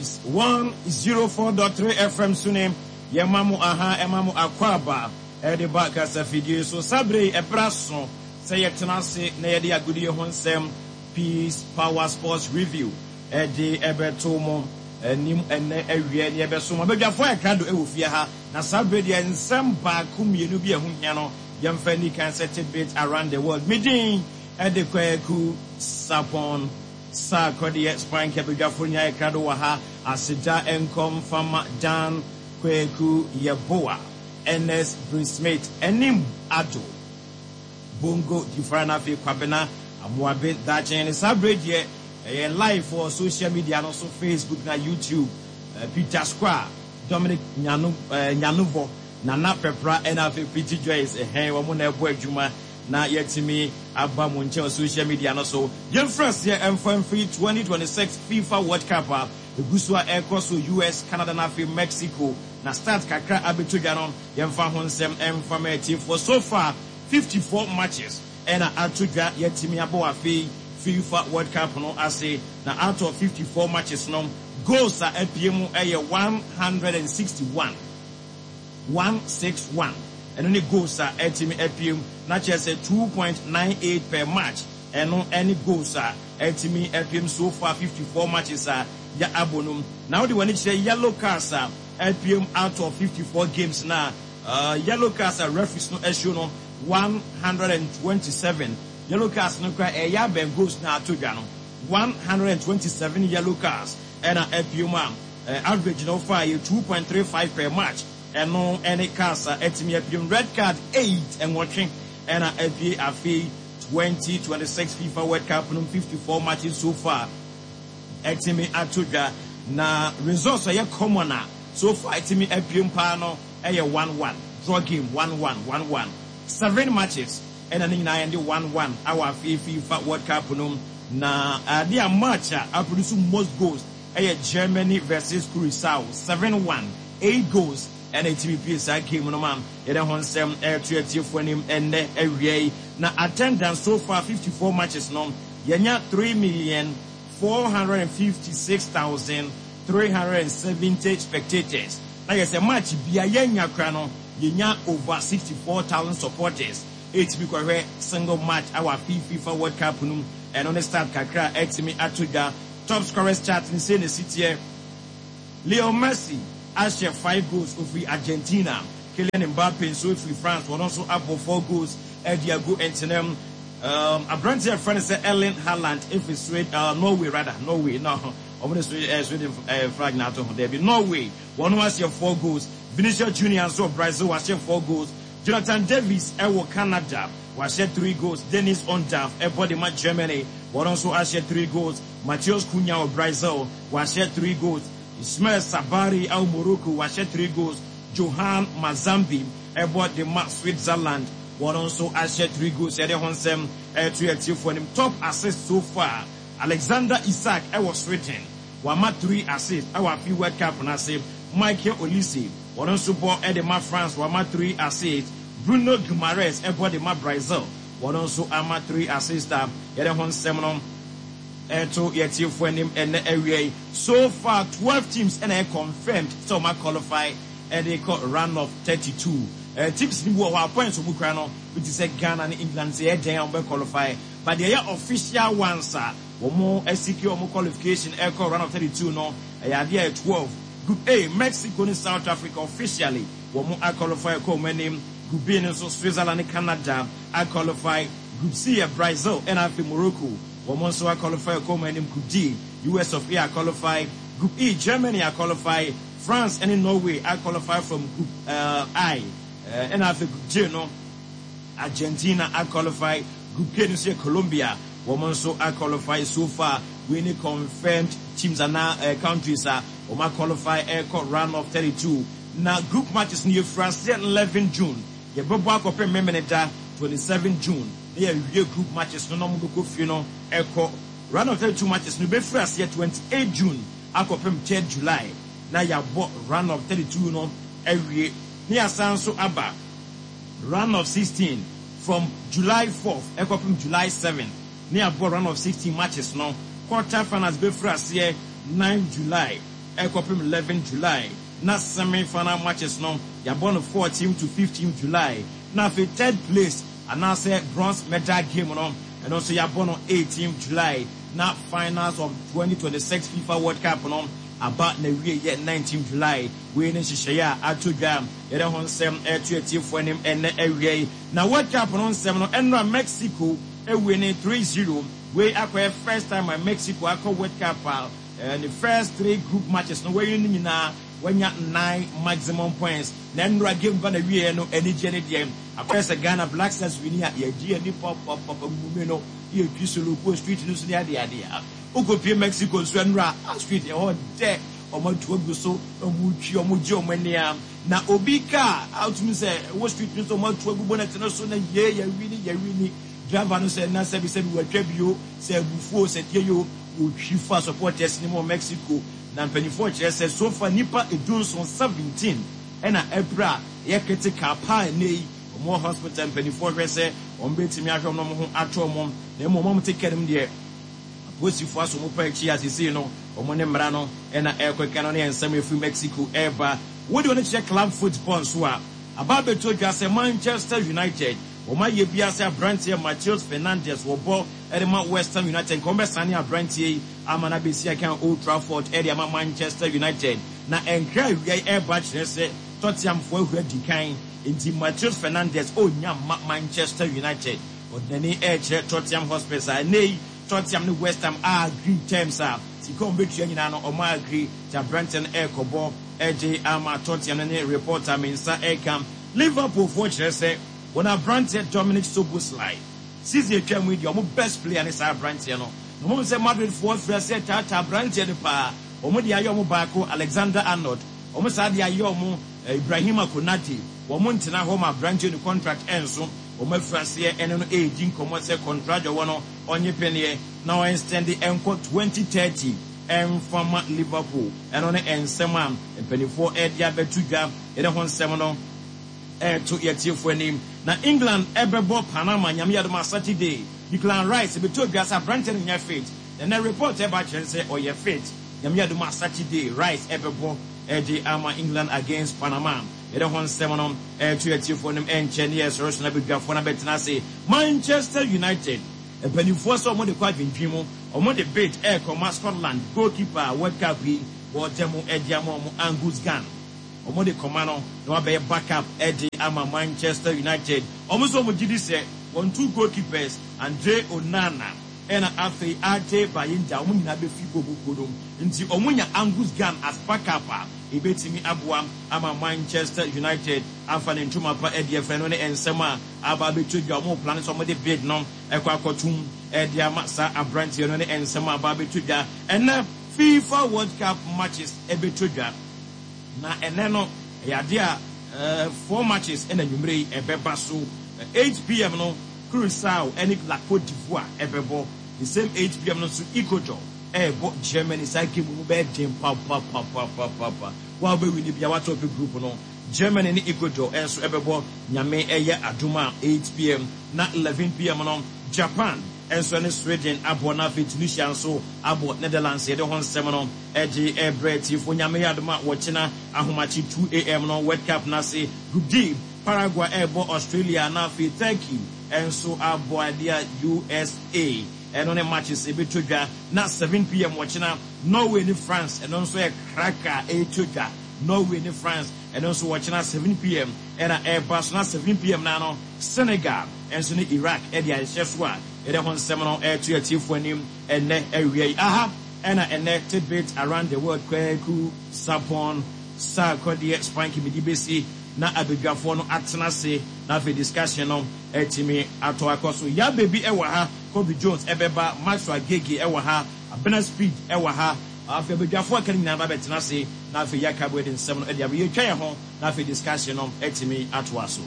Peace 104.3 FM so ne yɛma mo aha, ɛma mo akwaaba ɛde ba kasafidie so. Saa berɛ yi ɛberɛ aso sɛ yɛtena ase na yɛde agodie ho nsɛm Peace Power Sports Review ɛde ɛbɛto mo anim ɛnnɛ awia ne yɛbɛso mo abadwafoɔ a ɛkrado ɛwɔ fie ha. Na saa berɛ deɛ nsɛm baako mmienu bi a ɛho hia no yɛmfa nni kan sɛ tidbit around the world. Me din ɛde Kwaku Sapon Sarkodie Spank. Abadwafoɔ nyinaa ɛkrado wɔ ha. Aseda nkɔ mfama Dan Kwaku Yeboah, Ernest Bruce Smith, Anim Ado Bongo Difra na afei Kwabena Amoabe Daakye. Ne saa berɛ deɛ ɛyɛ live wɔ social media no so, Facebook na YouTube. Peter Square, Dominic Nyanu, Nyanuvo, Nana Pepra ɛna afei Pretty Joyce ɛhɛn wɔn na ɛbɔ adwuma na yɛtumi aba mo nkyɛn wɔ social media no so. Yɛmfiri aseɛ ɛmfa mfiri 2026 FIFA World Cup a ɛgu so a ɛrekɔ so US, Canada na afei Mexico na start kakra abɛtɔ dwa no, yɛmfa ho nsɛm ɛmfa ma atiefoɔ. So far 54 matches ɛna ato dwa yɛtumi abɔ afei FIFA World Cup no ase, na out of 54 matches no, goals a apue mu ɛyɛ 161, 161. Ɛno ne goals a ɛtumi apue mu, na kyerɛ sɛ 2.98 per match. Ɛno ɛne goals a ɛtumi apue mu so far 54 matches a yɛ abɔ no mu. Na wode w'ani kyerɛ yellow cards a apue mu out of 54 games na yellow cards a referees no ahyio no, 127 yellow cards no kora ɛyɛ abɛn goals na ato dwa no. 127 yellow cards ɛna apue mu a average no fa yɛ 2.35 per match. Ɛno ɛne cards a ɛtumi apue mu. Red card 8, 8, ɛna apue afei 2026 FIFA World Cup no 54 matches so far ɛtumi ato dwa. Na results a ɛyɛ common a so far ɛtumi apue mu paa no ɛyɛ 1-1 draw game, 1-1, 1-1, seven matches ɛna ne nyinaa yɛn de 1-1 awɔ afei FIFA World Cup no. Na ade a match a aproduce most goals ɛyɛ Germany versus Curacao, 7-1, eight goals ɛna ɛtumi pie saa game no ma yɛde ho nsɛm ɛto atiefoɔ anim ɛnnɛ awia yi. Na attendance so far 54 matches no, yɛnya 3,456,370 spectators, na yɛ sɛ match bia yɛnya kora no yɛnya over 64,000 supporters ɛtumi kɔhwɛ single match awɔ afi FIFA World Cup no mu. Ɛno ne start kakra a ɛtumi ato dwa. Top scorers chart ne sei na esi teɛ. Leo Messi ahyɛ five goals, ofiri Argentina. Kylian Mbappe nso efiri France, wɔn nso abɔ four goals ɛde agu ntenam. Aberanteɛ a yɛfrɛ no sɛ Erling Haaland efiri Sweden, Norway rather, Norway no, wɔn de Sweden, Sweden flag na ato ho dɛbi, Norway, wɔn ahyɛ four goals. Vinicius Junior nso wɔ Brazil, wahyɛ four goals. Jonathan Davis ɛwɔ Canada, wahyɛ three goals. Dennis Undav ɛbɔ de ma Germany, wɔn nso ahyɛ three goals. Matheus Cunha wɔ Brazil, wahyɛ three goals. Ismail Sabari ɛwɔ Morocco, wahyɛ three goals. Johan Manzambi ɛbɔ de ma Switzerland, wɔn nso ahyɛ three goals. Yɛde ho nsɛm ɛto atiefoɔ anim. Top assist so far, Alexander Isak ɛwɔ Sweden, wama three assist ɛwɔ afi World Cup n'ase. Michael Olise, wɔn nso bɔ ɛde ma France, wama three assist. Bruno Guimaraes ɛbɔ de ma Brazil, wɔn nso ama three assist a yɛde ho nsɛm no ɛto yɛtiefoɔ anim ɛnɛ awia yi. So far 12 teams ɛna ɛ confirmed sɛ wɔn qualify ɛde kɔ round of 32. Teams ni bi wɔ hɔ a points wɔn kura no bi te sɛ Ghana ne England, sɛ yɛ dɛn a wɔn bɛ qualify, but deɛ ɛyɛ official ones a wɔn asecure wɔn qualification ɛkɔ round of 32 no ɛyɛ adeɛ a ɛyɛ 12. Group A, Mexico ne South Africa officially wɔn aqualify kɔ wɔn anim. Group B no nso, Switzerland ne Canada aqualify. Group C yɛ Brazil ɛna afei Morocco, wɔn nso aqualify kɔ wɔn anim. Group D, US of A aqualify. Group E, Germany aqualify. France ɛne Norway aqualify from Group I. Ɛna afei Group J no, Argentina aqualify. Group K no nso yɛ Colombia, wɔn nso aqualify. So far wei ne confirmed teams anaa countries a wɔn aqualify ɛrekɔ round of 32. Na group matches no, yɛfiri aseɛ 11 June, yɛbɛbɔ akɔpem Memeneda 27 June na yɛawie group matches no na wɔn bɛkɔ fie no ɛkɔ. Round of 32 matches no bɛfiri aseɛ 28 June akɔpem 3 July na yɛabɔ round of 32 no awie, na yɛasan nso aba round of 16 from July 4th ɛkɔpem July 7th na yɛabɔ round of 16 matches no. Quarter finals bɛfiri aseɛ 9 July. ɛkɔpem 11 July, na semi final matches no yɛabɔ no 14 to 15 July, na afei third place anaasɛ bronze medal game no, ɛno nso yɛabɔ no 18 July, na finals of 2026 FIFA World Cup no aba na wie yɛ 19 July. Wei ne nhyehyɛeɛ a ato dwa, yɛde ho nsɛm ɛto atiefoɔ anim ɛnɛ awia yi. Na World Cup no nsɛm no, ɛnora Mexico ewie ne 3-0. Wei akɔyɛ first time a Mexico akɔ World Cup a ne first three group matches no wɔyi no nyinaa wanya nine maximum points. Na ɛnora game ba na wie no, anigye ne deɛ akɔyɛ sɛ Ghana Black Stars win a yɛgye ani papapapa mume no, yɛtwi solokuo street no so ne adeade a wokɔpie Mexico nso, ɛnora a street ɛhɔ dɛ, ɔmo atu agu so na ɔmo twi, ɔmo gye ɔmo ani a na obi kaa atumi sɛ ɛwɔ street no so, ɔmo atu agu bonnet no so na yie yɛwi ni yɛwi ni. Driver no sɛ na sɛbi sɛbi wɔatwa bio sɛ abufuo sɛ deɛ yo wɔtwi fa supporters ne mu wɔ Mexico. Na mpanyinfoɔ kyerɛ sɛ so far nipa 17, 17, ɛna ɛpra ɛyɛ critical paa. Ɛnɛ yi wɔn wɔ hospital, mpanyinfoɔ hwɛ sɛ wɔn bɛtumi ahwɛ wɔn ho atɔ wɔn, na emu wɔn te kɛnum deɛ apolisifoɔ aso wɔn pa akyi asese no, wɔn ne mmara no ɛna ɛrekɔka no ne nsɛm efiri Mexico ɛreba. Wode wɔn kyerɛ club football nso a, aba abɛto dwa sɛ Manchester United wɔn ayɛ bi ase aberanteɛ Matheus Fernandes wɔbɔ ɛde ma West Ham United, nka wɔn bɛsane aberanteɛ yi ama no abɛsi akan Old Trafford ɛde ama Manchester United. Na nkra awia yi ɛreba kyerɛ sɛ Tottenhamfoɔ ahura di kan, nti Matheus Fernandes ɔnya ma Manchester United, ɔde n'ani ɛrekyerɛ Tottenham Hotspurs a ɛnɛ yi Tottenham ne West Ham agree terms a sika wɔn bɛtua nyinaa no wɔn agree, nti aberanteɛ no ɛrekɔbɔ ɛgye ama Tottenham no. Ne reporter me nsa ɛreka, Liverpool foɔ kyerɛ sɛ wɔn aberanteɛ Dominic Szoboszlai, season atwa mu yi deɛ wɔn best player ne saa aberanteɛ no, na wɔn sɛ Madrid foɔ fira sɛ taataa aberanteɛ no paa. Wɔn de ayɛ wɔn baako Alexander Arnold, wɔn saa de ayɛ wɔn Ibrahima Konate. Wɔn ntena hɔ ma aberanteɛ no contract ɛnso wɔn afiri aseɛ ɛne no ɛredi nkɔmmɔ sɛ contract wɔ no ɔnye pɛneɛ na ɔextend ɛnkɔ 2030 ɛmfama Liverpool. Ɛno ne nsɛm a mpanimfoɔ ɛde abɛto dwa, yɛde ho nsɛm no ɛɛto yɛtiefoɔ anim. Na England ɛbɛbɔ Panama, Nyame yɛ adom a, Saturday. Declan Rice ɛbɛto dwa sɛ aberanteɛ no nyɛ fit, na ɛnɛ report ɛba kyerɛ sɛ ɔyɛ fit. Nyame yɛ adom a, Saturday Rice ɛbɛbɔ ɛde ama England against Panama. Yɛde ho nsɛm no ɛɛto yɛtiefoɔ anim. Ɛnkyɛ ne yɛsɔre so na badwafoɔ no abɛtena ase. Manchester United mpanimfoɔ sɛ wɔde kɔ adwendwen mu, wɔde bid ɛrekɔma Scotland goalkeeper World Cup yi wɔgye mu ɛde ama wɔn, Angus Gunn. Wɔde kɔma no na wabɛyɛ backup ɛde ama Manchester United. Wɔn nso wɔn gye di sɛ wɔn two goalkeepers, Andre Onana ɛna afei Altay Bayindir, wɔn nyinaa bɛfi bɔ mu kuo no, nti wɔn nya Angus Gunn as backup a, ebetumi aboa ama Manchester United afa ne ntoma pa ɛde ɛfɛ no. Ne nsɛm a aba abɛto dwa, wɔn plan sɛ wɔde bid no ɛkɔ akɔtum ɛde ama saa aberanteɛ no. Ne nsɛm a aba abɛto dwa, ɛnɛ FIFA World Cup matches ɛbɛto dwa, na ɛnɛ no ɛyɛ adeɛ a four matches ɛna nwumire yi ɛbɛba so. 8 p.m. no, Curacao ɛne La Cote d'Ivoire ɛbɛbɔ. The same 8 p.m. no nso, Ecuador ɛɛbɔ Germany. Saa game mu bɛyɛ den papapapapapa wa wobɛwi ne bia watɔ group no. Germany ne Ecuador ɛnso ɛbɛbɔ, Nyame ɛyɛ adom a, 8 p.m. Na 11 p.m. no, Japan ɛnso ne Sweden abɔ, na afei Tunisia nso abɔ Netherlands. Yɛde ho nsɛm no ɛgye ɛbrɛ tiefo. Nyame yɛ adom a, wɔkyena ahomakye 2 a.m. no, World Cup n'ase Group D, Paraguay ɛrebɔ Australia, na afei Turkey ɛnso abɔ adeɛ a USA. Ɛno ne matches ɛbɛtɔ dwa. Na 7 p.m. wɔkyena, Norway ne France, ɛno nso yɛ kraka ɛretɔ dwa. Norway ne France, ɛno nso wɔkyena 7 p.m. ɛna ɛreba so. Na 7 p.m. na no, Senegal ɛnso ne Iraq ɛde ahyehyɛ so a yɛde ho nsɛm no ɛreto atiefoɔ anim ɛnɛ awia yi aha. Ɛna ɛnɛ tidbit around the world, Kwaku Sapon saa kɔdeɛ spanky mede bɛsi na abadwafoɔ no atena ase, na afei discussion no ɛtumi atɔ akɔ so. Ya baby ɛwɔ ha, Kobe Jones ɛbɛba, Maxwell Agege ɛwɔ ha, Abena Speed ɛwɔ ha. Afei abadwafoɔ aka no nyinaa ba bɛtena ase, na afei yɛaka bɔ de nsɛm no ɛde abɛ yɛtwa yɛn ho, na afei discussion no ɛtumi atoa so.